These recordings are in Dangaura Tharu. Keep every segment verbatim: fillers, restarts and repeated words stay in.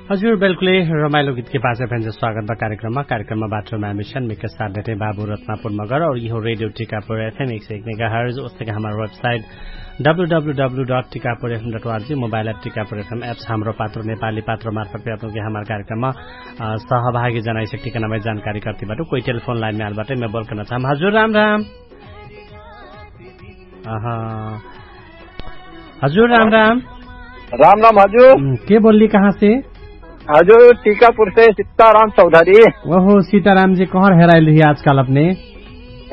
हजुर बिल्कुलै। रमाइलो गीतके पाछे फेन्से स्वागत बा कार्यक्रममा कार्यक्रममा बाटोमा मिसन मिके साथ देते बाबु रत्नापुर मगर और यिहो रेडियो टिकापुर एफएम एक सय एक मेगा हर्ज उस्तके हमार website W W W dot Tikapur FM dot org mobile app Tikapur FM apps Hamro Patro नेपाली पात्रो मार्फत पे अपनके हमार कार्यक्रममा सहभागी जनाइसक्ति कनामै जानकारी कर्ति बाटो कोही टेलिफोन लाइनमे आल बाटो मै बोल कर्ना चाहम। हजुर राम राम। हजुर राम राम। राम राम हजुर। के बोल्ली कहाँ से? हजुर टिकापुर से सीताराम चौधरी। ओहो सीताराम जी कहर हेराइल रही आजकाल अपने?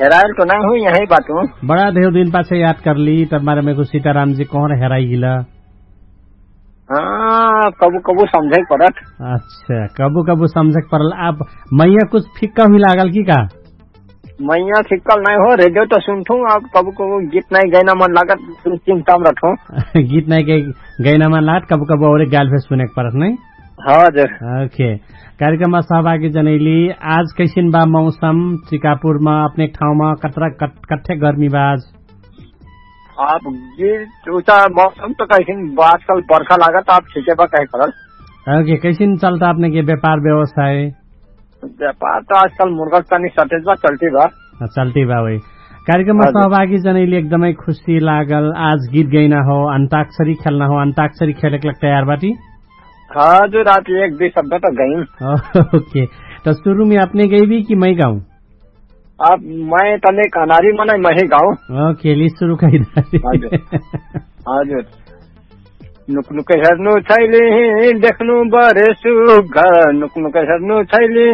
हेराइल तो नहीं हुई यही बात हूँ। बड़ा धेउ दिन पाछे याद करली तब मारे मेको सीताराम जी कहर हेराइल? हाँ कबु कबु समझे परत। अच्छा कबु कबु समझे परल। आप मैया कुछ फिक्का हुई लागल की का? मैया फिक्कल नहीं हो रेडियो तो सुनथू। आप कबु कबु गीत नहीं गैना मन लागत। चिंता में रखो। गीत नहीं गैना मन लागत कबु कबु और गाल फेर सुने के परत नहीं। हजुर। ओके। कार्यक्रममा सहभागी जनैली आज कैसिन बा मौसम? चिकापुरमा अपने ठाउँमा कतरा कट्ठे गर्मी बा आज? आप गीत उचा मौसम त कैसिन बा आजकल बर्खा लागत। आप ठिकै बा कहे परल। ओके कैसिन चलता अपने के व्यापार व्यवसाय? व्यापार त आजकल मुर्गा तनी सटेज बा चल्ती बा। चल्ती बा वही। कार्यक्रममा सहभागी जनैली एकदमै खुसी लागल। आज गीत गैना हो अन्ताक्षरी खेल्ना हो अन्ताक्षरी खेलेक लग तयार बाटी? हजुर आप एक दुई शब्द त गैन। ओके। त सुरुमे अपने गैबी कि मै गाउँ? अब मै तने कनारी मनै मही गाउँ। ओके ली सुरु कहि। हजुर। नुकनुक हेर्नु छैली देख्नु बरे सुघर नुकनुक हेर्नु छैली।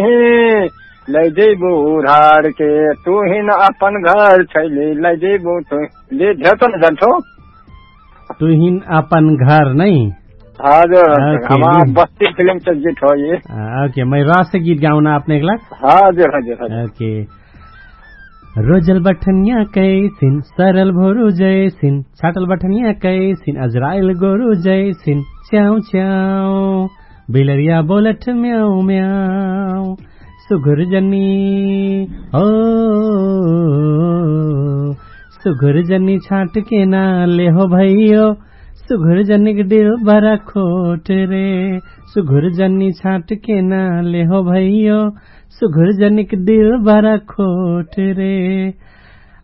लैजैबो उढाडके तुहिन अपन घर छैली लैजैबो तुहिन। ले झेर्छ न जान्छौ। तुहिन अपन घर नै। हजुर। बस्ती फिल्म चलचित हो ये। ओके मै रस गीत गाउन अपने एक लाख। हजुर हजुर हजुर। ओके। रोजल बठनिया कैसिन सरल भोरु जैसिन छाटल बठनिया कैसिन अजराइल गोरु जैसिन च्याउ च्याउ। बिलरिया बोलठ म्याउ म्याउ। सुघुर जनी हो। सुघुर जनी छाटके ना लेहो भैयो। सुघुर जनिक डिल बरा खोट रे। सुघुर जनी छाटके ना लेहो भैयो। सुघुर जनिक दिल बरा खोट रे।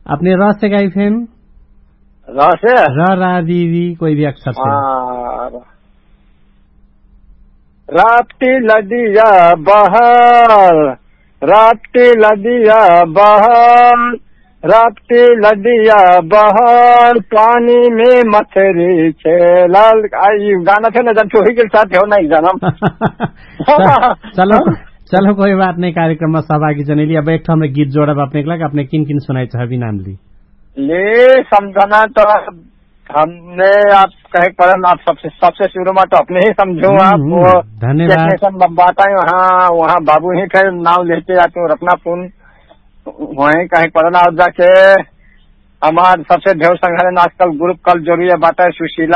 अपने रसे गाई फेन? रसे र रा री री कोई भी अक्षर से। राप्टी लदिया बहल। राप्टी लदिया बहल। राप्टी लदिया बहल पानी में मछरी छे लाल। गाना थे न जब चोही के साथ हो ना एक जनम। चलो। चलो कोई बात नहीं कार्यक्रम में सहभागी जनेली अब एक ठो हमरे गीत जोड़ब अपने के लग अपने किन किन सुनाई चाहबी नाम ली। ले समझना तो हमने आप कहे परन आप सबसे सबसे सुरु मा तो अपने ही समझू। आप वो धन्यवाद। बात आए वहाँ वहाँ बाबू ही थे नाव लेते आते रखना पुन। वही कहे परन आप जाके हमार सबसे ढेर संघारे आजकल ग्रुप कल जरूरी है बात है सुशीला।